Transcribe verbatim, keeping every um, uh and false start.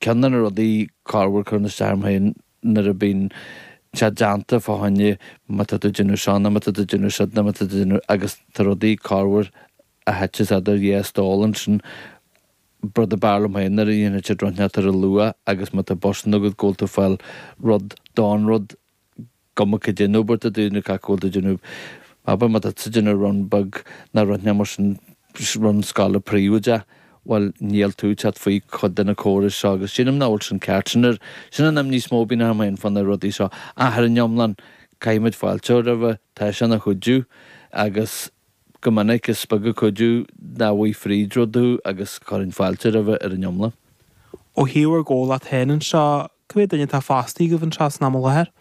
Ceann de na rudaí corruair cuireann isteach orm féin nuair a bíonn sé déanta fá choinne má tá tú ag déanamh seo nó má tá tú ag déanamh siúd nó má tá tú ag déanamh agus tá rudaí corruair a thiteas idir dhá stól ansin rud ab fhearr liom féin nuair a dhéanann siad rud inteacht ar a luath agus má tá bus agat go bhfuil tú ag fáil rud don rud cuma cad é an obair atá tú ag déanamh go bhfuil tú ag déanamh abair má tá tú ag déanamh run beag nó rud mar sin run scoile príobháideach bhuel níl tú ag teacht faoi chuid de na córais seo agus sílim nach bhfuil sin ceart sin ar sin an imní is mó a bhíonn orm féin fá na rudaí seo ach ar an iomlán caithfimid fáilte roimhe tá sé ina chuidiú agus go minic is beag an cuidiú nach bhfuil fríd rud thú agus cuireann fáilte roimhe ar an iomlán. Ó thaobh bhur gcomhlacht féin anseo, cá mhéad duine atá fostaithe agaibh anseo san am i láthair?